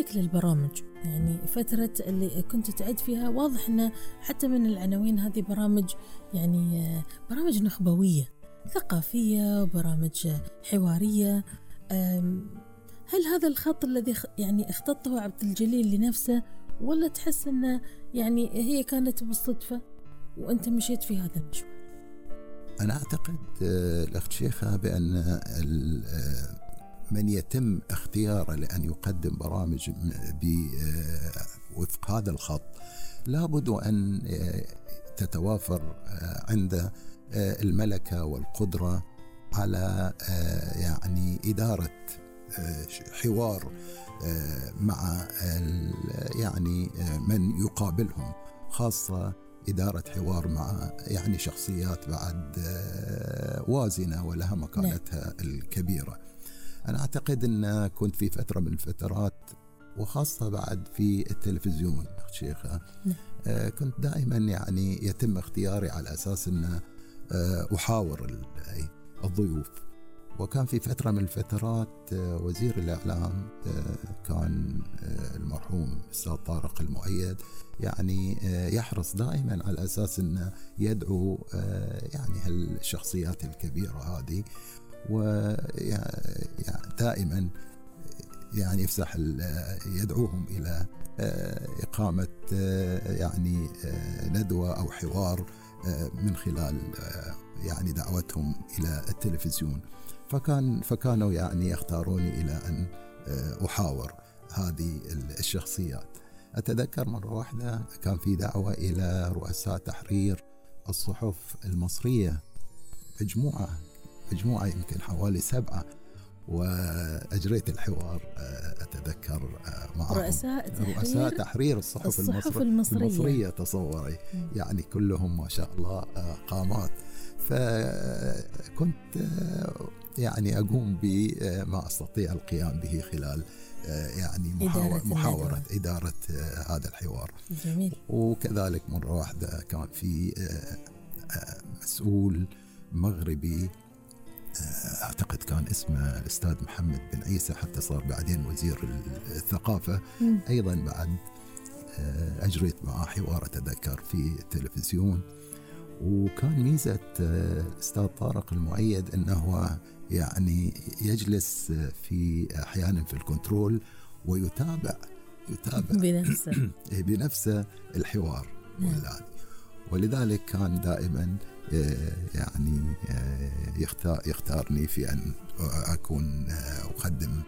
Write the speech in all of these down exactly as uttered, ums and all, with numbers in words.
لك للبرامج، يعني فترة اللي كنت تعد فيها واضح أنه حتى من العناوين هذه برامج يعني برامج نخبوية ثقافية وبرامج حوارية. هل هذا الخط الذي يعني اختطه عبد الجليل لنفسه، ولا تحس أنه يعني هي كانت بالصدفة وأنت مشيت في هذا المشوار؟ أنا أعتقد الأخت شيخة بأن من يتم اختياره لأن يقدم برامج وفق هذا الخط لابد أن تتوافر عنده الملكة والقدرة على يعني إدارة حوار مع يعني من يقابلهم، خاصة إدارة حوار مع يعني شخصيات بعد وازنة ولها مكانتها الكبيرة. أنا أعتقد أن كنت في فترة من الفترات وخاصة بعد في التلفزيون شيخة كنت دائما يعني يتم اختياري على أساس أن أحاور الضيوف. وكان في فترة من الفترات وزير الإعلام كان المرحوم الأستاذ طارق المؤيد يعني يحرص دائما على أساس أنه يدعو يعني هالشخصيات الكبيرة هذه، ودائما يعني يفسح يدعوهم إلى إقامة يعني ندوة أو حوار من خلال يعني دعوتهم إلى التلفزيون. فكان فكانوا يعني يختاروني إلى أن أحاور هذه الشخصيات. أتذكر مرة واحدة كان في دعوة إلى رؤساء تحرير الصحف المصرية، مجموعة مجموعة يمكن حوالي سبعة، وأجريت الحوار أتذكر معهم رؤساء تحرير, رؤساء تحرير الصحف, الصحف المصرية, المصرية تصوري م. يعني كلهم ما شاء الله قامات. فكنت يعني أقوم بما أستطيع القيام به خلال يعني محاورة, محاورة إدارة هذا الحوار. جميل. وكذلك مرة واحدة كان في مسؤول مغربي أعتقد كان اسمه الأستاذ محمد بن عيسى، حتى صار بعدين وزير الثقافة م. أيضا بعد أجريت معه حوار أتذكر في التلفزيون. وكان ميزة الأستاذ طارق المؤيد أنه يعني يجلس في أحيانا في الكنترول ويتابع يتابع بنفسه بنفسه الحوار والآن. ولذلك كان دائما يعني يختار يختارني في أن أكون أقدم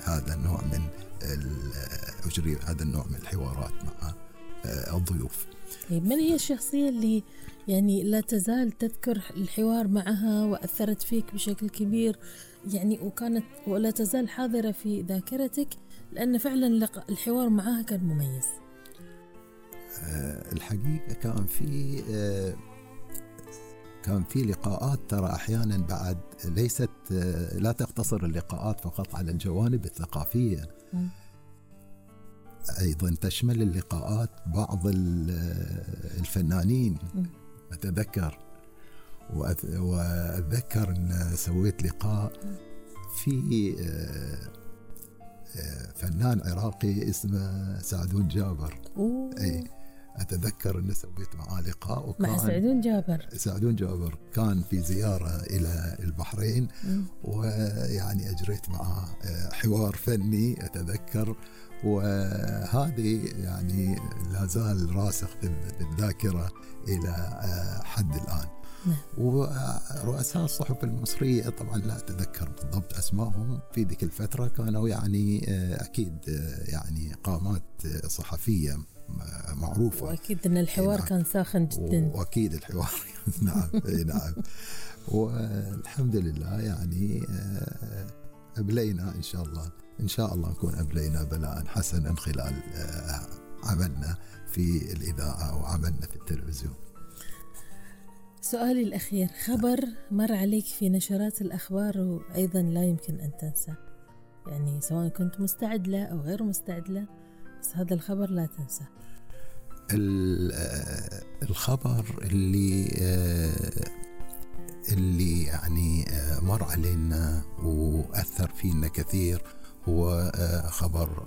هذا النوع من أجري هذا النوع من الحوارات مع الضيوف. من هي الشخصية اللي يعني لا تزال تذكر الحوار معها وأثرت فيك بشكل كبير يعني وكانت ولا تزال حاضرة في ذاكرتك لأن فعلا الحوار معها كان مميز؟ الحقيقة كان في كان في لقاءات ترى أحيانا بعد ليست لا تقتصر اللقاءات فقط على الجوانب الثقافية م. أيضا تشمل اللقاءات بعض الفنانين م. أتذكر وأتذكر أن سويت لقاء في فنان عراقي اسمه سعدون جابر. أي أتذكر أن سويت معاه لقاء وكان مع سعدون جابر. سعدون جابر كان في زيارة إلى البحرين م. ويعني أجريت معاه حوار فني أتذكر، وهذه يعني لا زال راسخ بالذاكرة إلى حد الآن. ورؤساء الصحف المصرية طبعا لا أتذكر بالضبط أسمائهم في ذيك الفترة، كانوا يعني أكيد يعني قامات صحفية معروفة، وأكيد أن الحوار نعم. كان ساخن جدا، وأكيد الحوار نعم نعم. والحمد لله يعني أبلينا إن شاء الله إن شاء الله نكون أبلينا بلاء حسنا خلال عملنا في الإذاعة وعملنا في التلفزيون. سؤالي الأخير، خبر مر عليك في نشرات الأخبار وأيضا لا يمكن أن تنسى، يعني سواء كنت مستعد له أو غير مستعد له، بس هذا الخبر لا تنسى. الخبر اللي اللي يعني مر علينا وأثر فينا كثير هو خبر